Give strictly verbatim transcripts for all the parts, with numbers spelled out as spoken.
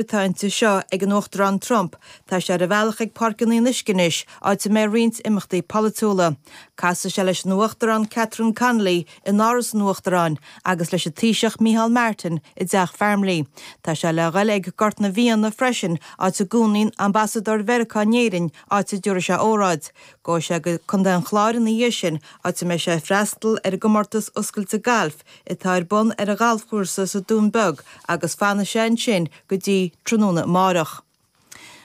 atá inti seo ag an Uachtarán Trump, tá sé ar a bhealach ag Páirc an Fhionnuisce anois, áit a mbeidh roinnt imeachtaí polaitiúla. Casfaidh sé leis an Uachtarán Catherine Connolly in Áras an Uachtaráin agus leis an Taoiseach Micheál Martin i dTeach Farmleigh. Tá sé le dhul ag Gort na bhFianna freisin, áit a gcónaíonn ambasadóir Mheiriceá in Éirinn, áit a dtabharfaidh sé óráid. Gabhfaidh sé go Contae an Chláir ina dhiaidh sin, áit a mbeidh sé ag freastal ar an gcomórtas oscailte gailf atá ar bun ar an ghalfchúrsa sa Dún Beag agus fanfaidh sé ansin go dtí tráthnóna amárach.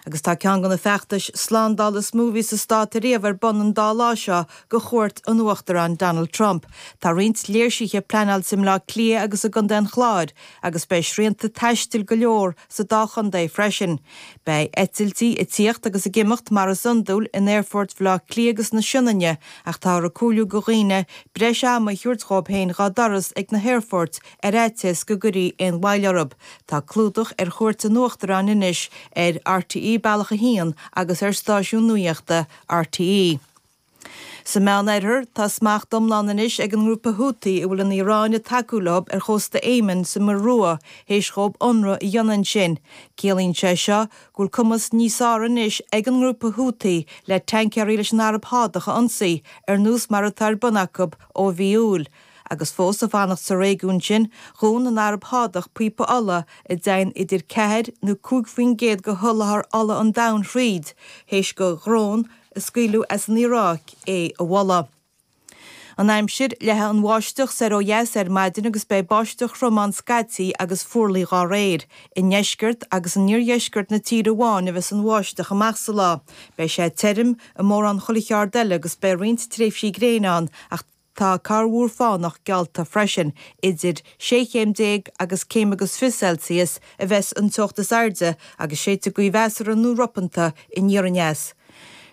Agus tá ceann de na feachtais slándála is mó a bhí sa stát ariamh ar bun an dá lá seo do chuairt an Uachtaráin Donald Trump. Tá roinnt léirsithe pleanáilte i mBleá Cliath agus i gContae an Chláir agus beidh srianta taistil go leor sa dá chontae freisin. Beidh eitiltí ag tíocht agus ag imeacht mar is iondúil in aerfort Bhaile Átha Cliath agus na Sionainne ach táthar ag comhairliú do dhaoine breis ama a thabhairt dhóibh féin dhá dturas ag na haerfoirt ar fhaitíos go gcuirfí aon mhoill orthu. Tá clúdach ar chuairt an Uachtaráin anois ar RTÉ Bealach a haon agus ar stáisiún nuachta RTÉ. Sa Meánoirthear, tá smacht iomlán anois ag an ngrúpa Houthi a bhfuil an Iaráin ag tacú leo ar chósta Éimin sa Muir Rua théis dhóibh ionradh a dhéanamh ansin. Ciallaíonn sé seo go bhfuil cumas níos fearr anois ag an ngrúpa Houthi le tancaeirí leis an Araib Shádach a ionsaí, ar nós mar atá ar bun acu ó mhí Iúil. Agus fós ag fanacht sa réigiún sin, dhún an Araib Shádach píopa ola a dtéann idir ceathair nó cúig faoin gcéad de sholáthar ola an domhain thríd, théis do dhrón a scaoileadh as an Iaráic é a bhualadh. An aimsir, leathfaidh an bháisteach soir ó dheas ar maidin agus beidh báisteach throm ann scaití agus fuarlaigh dá réir. I ndeisceart agus in iardheisceart na tíre amháin a bheas an bháisteach amach sa lá. Beidh sé tirim i mórán chuile cheard eile agus beidh roinnt tréimhsí gréine ann ach tá corrmhúr fánach geallta freisin. Idir sé chéim déag agus céim agus fiche Celsius a bheas an teocht is airde agus séidfidh gaoth mheasartha nó ropanta aniar aneas.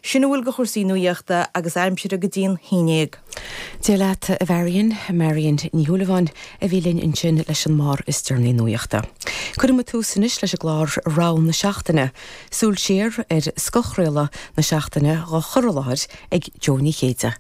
Sin a bhfuil de chúrsaí nuachta agus aimsire go dtí an haon déag. Dia leat a Mharion, Marion Ní Shúilleabháin a bhí linn ansin leis an mbarr is deireanaí nuachta. Cuireann tús anois leis an gclár Rogha na Seachtaine, súil siar ar scothchraoladh na seachtaine á chur i láthair ag Joe Ní Chéide.